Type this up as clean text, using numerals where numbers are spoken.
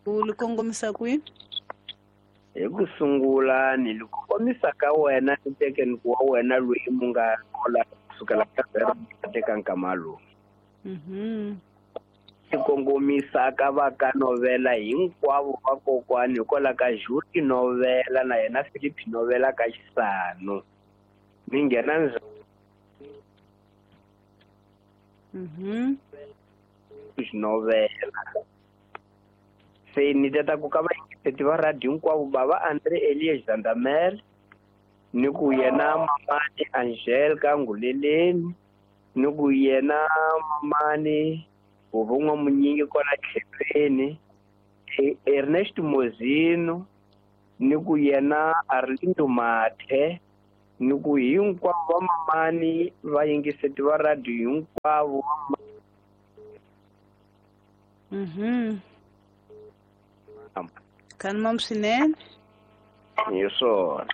U li kongomisa kwihi? Hi ku sungula ni li kongomisa ka wena ni tekeni wa wena loyi mu nga kola kusukela ka zero teka nkama lowu. Ni kongomisa ka va ka Novela hinkwavo va kokwani hikwalaho ka Julie Novela na yena Philip Novela ka Xisano. Ni nghena ndzi Novela. Se ni tata ku ka vayingiseti va radio hinkwavo bava Andre Elias Zandamel ni ku yena mamani Angel ka Nguleleni ni ku yena mamani Vuvun'wa Munyingi kwala tlhelweni Ernest Mozino ni ku yena Arlindo Mathe ni ku hinkwavo va mamani vayingiseti va radio hinkwavo. Khanimam swinene. Hi swona.